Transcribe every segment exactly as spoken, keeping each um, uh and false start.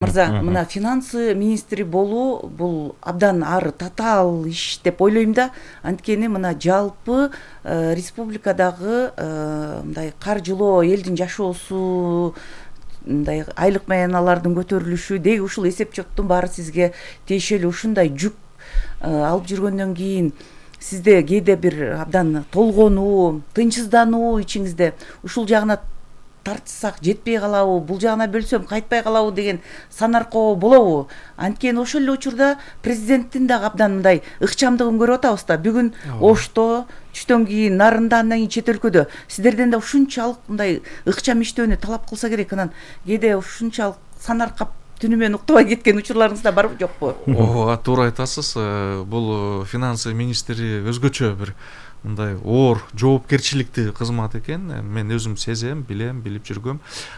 Мырза, мына финансы министри болуу бул абдан ар татаал иш деп ойлойм да. Анткени мына жалпы республикадагы мындай каржылоо, элдин жашоосу, мындай айлык маяналардын көтөрүлүшү деги ушул эсеп чоттун баары сизге тиешелүү. Ушундай жүк алып жүргөндөн кийин сизде кээде бир абдан толгонуу, тынчсыздануу ичиңизде ушул жагына тартсак жетпей калабы, бул жагына бөлсөм кайтпай калабы деген санаркоо болобу? Анткени ошол эле учурда президенттин дагы абдан мындай ыкчамдыгын көрүп атабыз да. Бүгүн Ошто, түштөн кийин Нарында, андан кийин чет өлкөдө сиздерден да ушунчалык мындай ыкчам иштөөнү талап кылса керек. Анан кээде ушунчалык санаркап түнү менен уктабай кеткен учурларыңыз да барбы, жокпу? Ооба, туура айтасыз. Бул финансы министри өзгөчө бир мындай оор, жоопкерчиликтүү кызмат экен. Мен өзүм сезем, билем, билип жүргөм.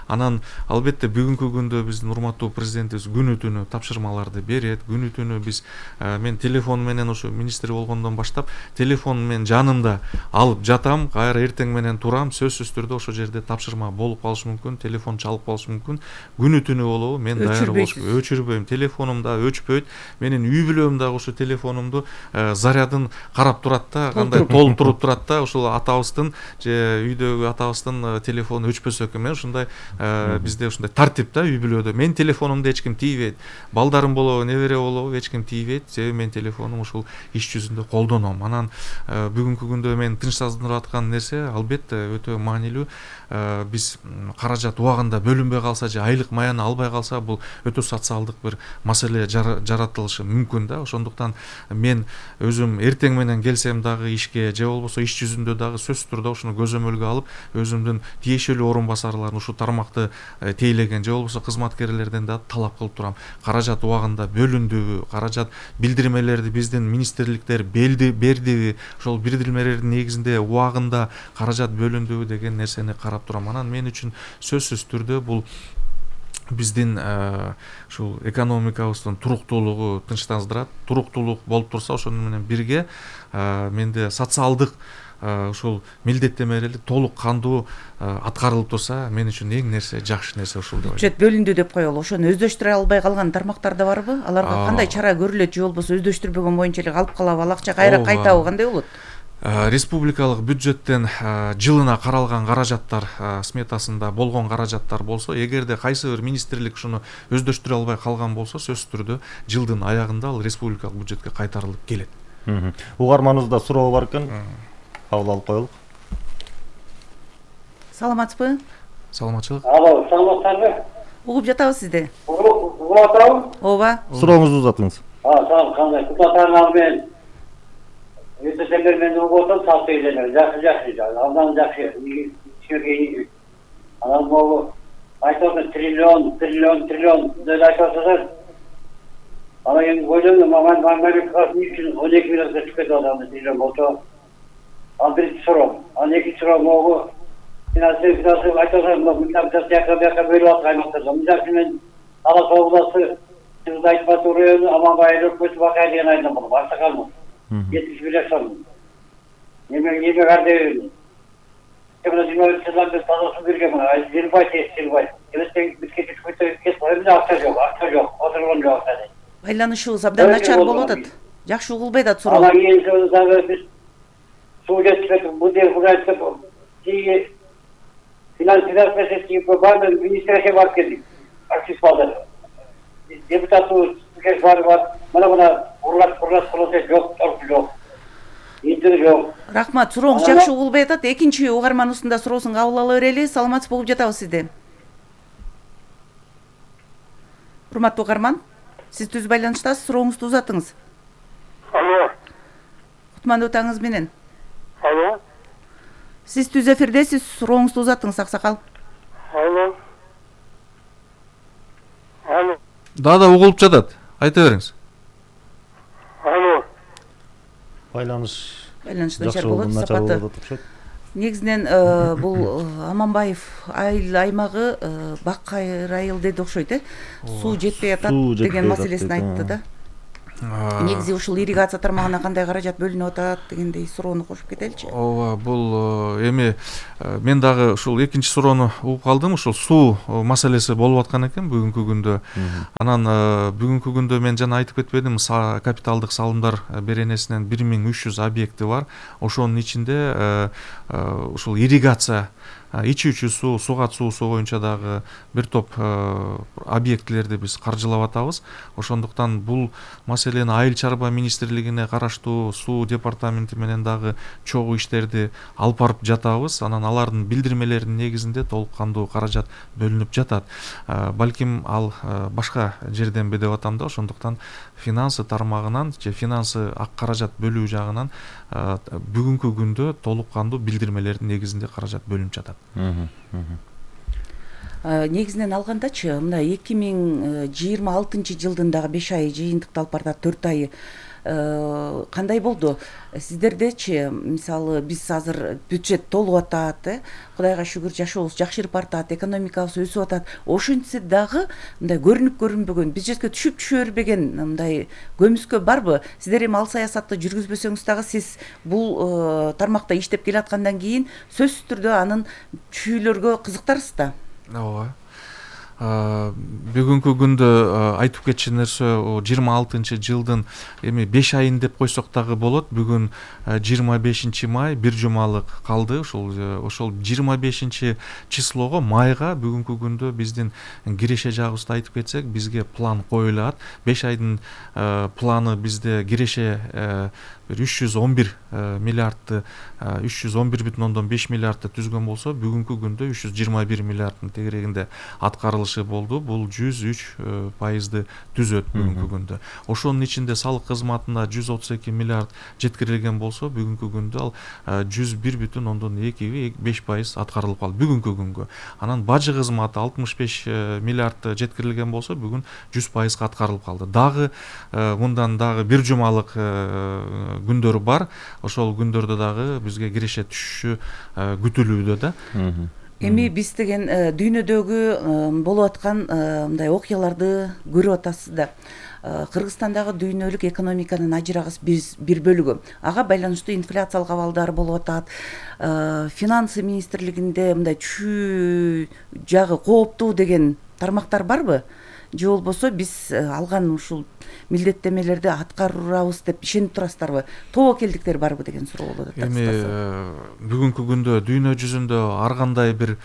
Анан албетте бүгүнкү күндө биздин урматтуу президентибиз күнү түнү тапшырмаларды берет. Күнү түнү биз мен телефон менен ошо министр болгондон баштап телефон мен жанымда алып жатам, кайра эртең менен турам, сөзсүз түрдө ошол жерде тапшырма болуп калышы мүмкүн, телефон чалып калышы мүмкүн. Күнү түнү болобу, мен даяр болушум, өчүрбөйм. Телефонум да өчпөйт. Менин үй бүлөм дагы ошо телефонумду зарядын карап турат да, кандай туруп турат да, ошол атабыздын же үйдөгү атабыздын телефону өчпөсө экен. Мен ушундай бизде ушундай тартип да үй бүлөдө. Мен телефонумду эч ким тийбейт. Балдарым болобу, небере болобу, эч ким тийбейт. Себеби мен телефонум ушул иш жүзүндө колдоном. Анан бүгүнкү күндө мен тынчсыздандырып аткан нерсе албетте өтө маанилүү. Биз каражат убагында бөлүнбөй калса же айлык маяны албай калса, бул өтө социалдык бир маселе жаратылышы мүмкүн да. Ошондуктан мен өзүм эртең менен келсем дагы ишке же болбосо иш жүзүндө дагы сөзсүз түрдө ушуну көзөмөлгө алып, өзүмдүн тиешелүү орун басарларын ушу тармакты тейлеген же болбосо кызматкерлерден да талап кылып турам. Каражат убагында бөлүндүбү, каражат билдирмелерди биздин министрликтер бердиби, ошол билдирмелердин негизинде убагында каражат бөлүндүбү деген нерсени карап турам. Анан мен үчүн сөзсүз түрдө бул биздин ушул экономикабыздын туруктуулугу тынчтандырат. Туруктуулук болуп турса, ошону менен бирге менде социалдык ушул милдеттенмелери толук кандуу аткарылып турса, мен үчүн эң нерсе жакшы нерсе ушул деп ойлойм. Бюджет бөлүндү деп коелу. Ошону өздөштүрө албай калган тармактар да барбы? Аларга кандай чара көрүлөт же болбосо өздөштүрбөгөн боюнча эле калып калабы? Ал акча кайра кайтабы, кандай болот? Республикалык бюджеттен жылына каралган каражаттар сметасында болгон каражаттар болсо, эгерде кайсы бир министрлик ушуну өздөштүрө албай калган болсо, сөзсүз түрдө жылдын аягында ал республикалык бюджетке кайтарылып келет. Угарманыбызда суроо бар экен. Кабыл алып коелук. Саламатсызбы? Саламатчылык. Алло, саламатсызбы? Угуп жатабыз сизди. Угуп атабыз? Ооба. Сурооңузду узатыңыз. А, сау, кандай? Кутатаңар мен Өтөсөмөр мен угуп атам, сау сеземер. Жакшы, жакшы, андан жакшы. Ишке анан могу айтып триллион, триллион, триллион деп айтасыздар. Анан эми ойлойм, маман мамлекет үчүн он эки миллионга түшүп кетип атам, триллион болсо. Ал биринчи суроо. Анан экинчи суроо могу финансы финансы айтасыздар, мындан жака жака бөлүп аткан аймактарда. Мындан мен Алас областы сиз айтып атуу району Аманбай өкмөтү бакай деген айдан болуп Аксакалмын. жетимиш бир жашам. Неме неме кардебим. Кемде жыйырма жылдан бери тазасын берген мына. Жыйырбай тез жыйырбай. Эместен битке түшкөндө кет коюм, акча жок, акча жок, отурган жок акча. Байланышыбыз абдан начар болуп атат. Жакшы угулбай атат суроо. Анан кийин дагы биз суу жетишпейт, бул дер кудайсып, тиги финанс финанс министрге бар, министрге барып келдик. Актив балдар. Депутаттуу кеш бар бар. Мына мына урлап урлап кылып жок, торп жок. Интер жок. Рахмат, сурооңуз жакшы угулбай атат. Экинчи угарманыбыздын да суроосун кабыл ала берели. Саламатсызбы, угуп жатабыз сизди. Урматтуу угарман, сиз түз байланыштасыз, сурооңузду узатыңыз. Алло. Кутмандуу таңыңыз менен. Алло. Сиз түз эфирдесиз, сурооңузду узатыңыз, Аксакал. Алло. Алло. Да, да, угулуп жатат. Айта бериңиз. Алло. Байланыш Байланыш начар болот, сапаты. Негизинен бул Аманбаев айыл аймагы Бакай райыл деди окшойт, э? Суу жетпей атат деген маселесин айтты да. негизи ушул ирригация тармагына кандай каражат бөлүнүп атат дегендей суроону кошуп кетеличи. ооба, бул эми мен дагы ушул экинчи суроону угуп калдым. Ушул суу маселеси болуп аткан экен бүгүнкү күндө. Анан бүгүнкү күндө мен жана айтып кетпедим, капиталдык салымдар беренесинен бир миң үч жүз объекти бар. Ошонун ичинде ушул ирригация, ичүүчү суу, суга суусу боюнча дагы бир топ объектилерди биз каржылап атабыз. Ошондуктан бул маселени Айыл чарба министрлигине караштуу суу департаменти менен дагы чогуу иштерди алып барып жатабыз. Анан алардын билдирмелеринин негизинде толук кандуу каражат бөлүнүп жатат. Балким ал башка жерденби деп атам да, ошондуктан финансы тармагынан же финансы ак каражат бөлүү жагынан бүгүнкү күндө толук кандуу билдирмелердин негизинде каражат бөлүнүп жатат. Негизинен алгандачы, мындай эки миң жыйырма алтынчы жылдын дагы беш айы жыйынтыкталып баратат, төрт айы кандай болду? Сиздердечи, мисалы, биз азыр бюджет толуп атат, э, Кудайга шүгүр, жашообуз жакшырып баратат, экономикабыз өсүп атат. Ошентсе дагы мындай көрүнүп көрүнбөгөн, бюджетке түшүп түшө бербеген мындай көмүскө барбы? Сиздер эми ал саясатты жүргүзбөсөңүз дагы сиз бул тармакта иштеп келаткандан кийин сөзсүз түрдө анын чүйлөргө кызыктарсыз да. Ооба. Бүгүнкү күндө айтып кетчү нерсе жыйырма алтынчы жылдын эми беш айын деп койсок дагы болот. Бүгүн жыйырма бешинчи май, бир жумалык калды. Ошол ошол жыйырма бешинчи числого, майга бүгүнкү күндө биздин киреше жагыбызды айтып кетсек, бизге план коюлат. беш айдын планы бизде киреше үч жүз он бир миллиардты, үч жүз он бир бүтүн ондон беш миллиардты түзгөн болсо, бүгүнкү күндө үч жүз жыйырма бир миллиардтын тегерегинде аткарылышы болду. Бул жүз үч пайызды түзөт бүгүнкү күндө. Ошонун ичинде салык кызматына жүз отуз эки миллиард жеткирилген болсо, бүгүнкү күндө ал жүз бир бүтүн ондон эки беш пайыз аткарылып калды бүгүнкү күнгө. Анан бажы кызматы алтымыш беш миллиард жеткирилген болсо, бүгүн жүз пайызга аткарылып калды. Дагы мындан дагы бир жумалык күндөр бар. Ошол күндөрдө дагы бизге киреше түшүшү күтүлүүдө да. Эми биз деген дүйнөдөгү болуп аткан мындай окуяларды көрүп атасыз да. Кыргызстандагы дүйнөлүк экономиканын ажырагыс бир бөлүгү. Ага байланыштуу инфляциялык абалдар болуп атат. Финансы министрлигинде мындай түшүү жагы кооптуу деген тармактар барбы? Же болбосо биз алган ушул милдеттемелерди аткарабыз деп ишенип турасыздарбы? Тобокелдиктер барбы деген суроо болот. Эми бүгүнкү күндө дүйнө жүзүндө ар кандай бир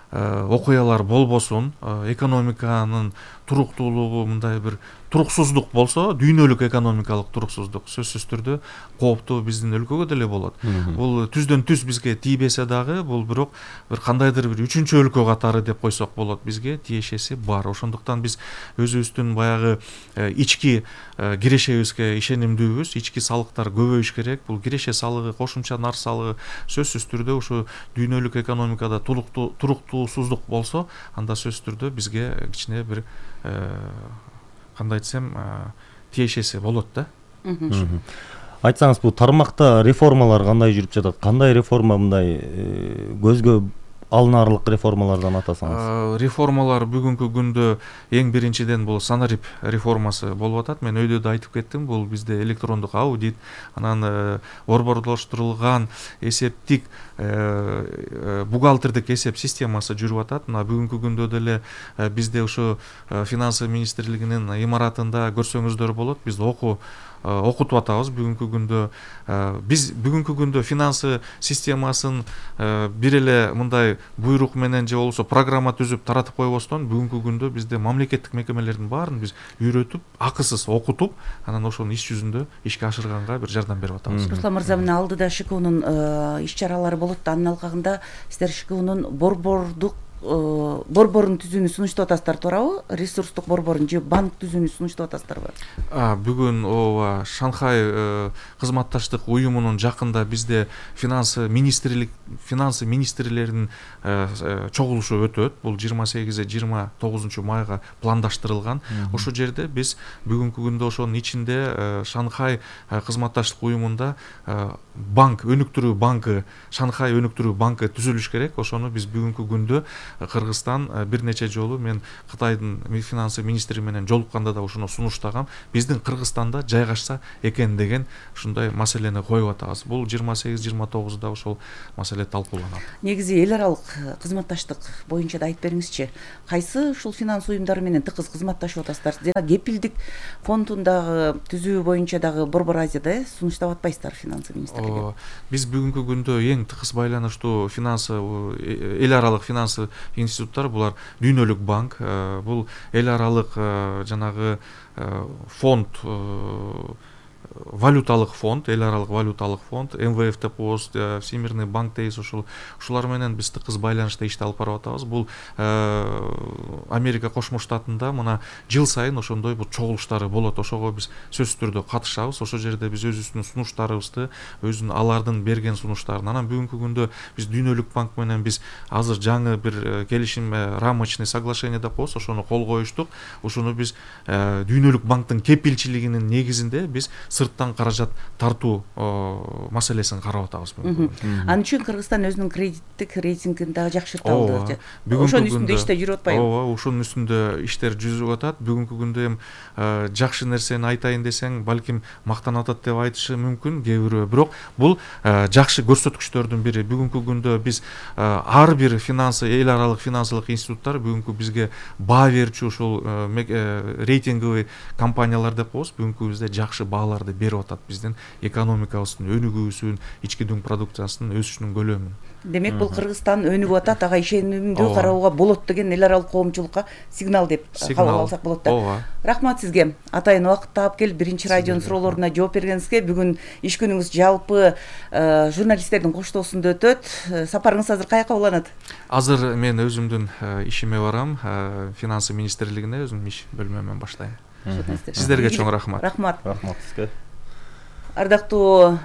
окуялар болбосун, экономиканын туруктуулугу мындай бир туруксуздук болсо, дүйнөлүк экономикалык туруксуздук сөзсүз түрдө кооптуу биздин өлкөгө деле болот. Бул түздөн түз бизге тийбесе дагы, бул бирок бир кандайдыр бир үчүнчү өлкө катары деп койсок болот, бизге тиешеси бар. Ошондуктан биз өзүбүздүн баягы ички кирешебизге ишенимдүүбүз, ички салыктар көбөйүш керек. Бул киреше салыгы, кошумча нар салыгы сөзсүз түрдө ушу дүйнөлүк экономикада туруктуусуздук болсо, анда сөзсүз түрдө бизге кичине бир кандай десем, тиешеси болот да. Айтсаңыз, бул тармакта реформалар кандай жүрүп жатат? Кандай реформа мындай көзгө алынаарлык реформалардан атасаңыз? Реформалар бүгүнкү күндө эң биринчиден бул санарип реформасы болуп атат. Мен өйдө да айтып кеттим, бул бизде электрондук аудит, анан борборлоштурулган эсептик бухгалтердик эсеп системасы жүрүп атат. Мына бүгүнкү күндө деле бизде ушу финансы министрлигинин имаратында көрсөңүздөр болот, биз окуу окутуп атабыз бүгүнкү күндө. Биз бүгүнкү күндө финансы системасын бир эле мындай буйрук менен же болбосо программа түзүп таратып койбостон, бүгүнкү күндө бизде мамлекеттик мекемелердин баарын биз үйрөтүп, акысыз окутуп, анан ошону иш жүзүндө ишке ашырганга бир жардам берип атабыз. Руслан мырза, мына алдыда ШКУнун иш чаралары болот да, анын алкагында сиздер ШКУнун борбордук борборун түзүүнү сунуштап атасыздар, туурабы? Ресурстук борборун же банк түзүүнү сунуштап атасыздарбы? Бүгүн ооба, Шанхай кызматташтык уюмунун жакында бизде финансы министрлик финансы министрлеринин чогулушу өтөт. Бул жыйырма сегиз жыйырма тогузунчу майга пландаштырылган. Ошол жерде биз бүгүнкү күндө ошонун ичинде Шанхай кызматташтык уюмунда банк, өнүктүрүү банкы, Шанхай өнүктүрүү банкы түзүлүш керек. Ошону биз бүгүнкү күндө Кыргызстан бир нече жолу мен Кытайдын финансы министри менен жолукканда да ушуну сунуштагам. Биздин Кыргызстанда жайгашса экен деген ушундай маселени коюп атабыз. Бул жыйырма сегиз жыйырма тогузда ошол маселе талкууланат. Негизи эл аралык кызматташтык боюнча да айтып бериңизчи. Кайсы ушул финанс уюмдары менен тыгыз кызматташып атасыздар? Жана кепилдик фондундагы түзүү боюнча дагы Борбор Азияда сунуштап атпайсыздар финансы министрлиги? Биз бүгүнкү күндө эң тыгыз байланыштуу финансы эл аралык финансы институттар булар Дүйнөлүк банк, бул эл аралык жанагы фонд, валюталык фонд, эл аралык валюталык фонд, эм вэ эф Пост, Всемирный банк дейбиз, ошол ушулар менен биз тыгыз байланышта ишти алып барып атабыз. Бул Америка Кошмо Штатында мына жыл сайын ошондой бул чогулуштары болот. Ошого биз сөзсүз түрдө катышабыз. Ошол жерде биз өзүбүздүн сунуштарыбызды, өзүнүн алардын берген сунуштарын, анан бүгүнкү күндө биз Дүйнөлүк банк менен биз азыр жаңы бир келишим, рамочный соглашение деп коебуз, ошону кол коюштук. Ушуну биз Дүйнөлүк банктын кепилчилигинин негизинде биз сырттан каражат тартуу маселесин карап атабыз. Ал үчүн Кыргызстан өзүнүн кредиттик рейтингин дагы жакшырта алды. Ошонун үстүндө иштер жүрүп атпайбы? Ооба, ошонун үстүндө иштер жүрүп атат. Бүгүнкү күндө эми жакшы нерсени айтайын десең, балким мактанып атат деп айтышы мүмкүн кээ бирөө, бирок бул жакшы көрсөткүчтөрдүн бири. Бүгүнкү күндө биз ар бир финансы, эл аралык финансылык институттар бүгүнкү бизге баа берүүчү ушул рейтинговый компаниялар деп коебуз, бүгүнкү бизде жакшы бааларды берип атат. Биздин экономикабыздын өнүгүүсүн, ички дүң продукциясынын өсүшүнүн көлөмүн. Демек бул Кыргызстан өнүгүп атат, ага ишенимдүү кароого болот деген эл аралык коомчулукка сигнал деп кабыл алсак болот да. Ооба. Рахмат сизге. Атайын убакыт таап келип биринчи радионун суроолоруна жооп бергениңизге. Бүгүн иш күнүңүз жалпы журналисттердин коштоосунда өтөт. Сапарыңыз азыр каяка уланат? Азыр мен өзүмдүн ишиме барам, финансы министрлигине өзүмдүн иш бөлмөмөн баштайм. Сиздерге чоң рахмат. Рахмат. Рахмат сизге. Ардактуу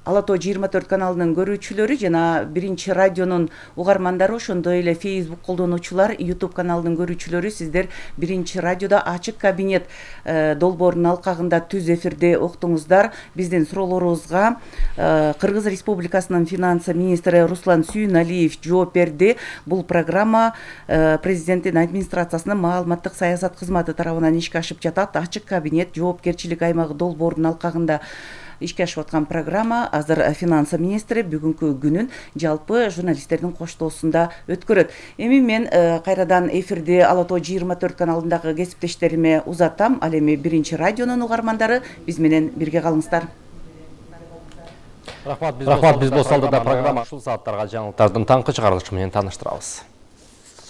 Ала Тоо жыйырма төрт каналынын көрүүчүлөрү жана биринчи радионун угармандары, ошондой эле Facebook колдонуучулар, YouTube каналынын көрүүчүлөрү, сиздер биринчи радиода ачык кабинет долбоорунун алкагында түз эфирде уктуңуздар. Биздин суроолорубузга Кыргыз Республикасынын финансы министри Руслан Сүйүналиев жооп берди. Бул программа президенттин администрациясынын маалыматтык саясат кызматы тарабынан ишке ашып жатат. Ачык кабинет жоопкерчилик аймагы долбоорунун алкагында ишке ашып аткан программа. Азыр финансы министри бүгүнкү күнүн жалпы журналисттердин коштоосунда өткөрөт. Эми мен кайрадан эфирди Ала Тоо жыйырма төрт каналындагы кесиптештериме узатам. Ал эми биринчи радионун угармандары, биз менен бирге калыңыздар. Рахмат, биз болсолду да программа ушул сааттарга жаңылыктардын таңкы чыгарылышы менен тааныштырабыз.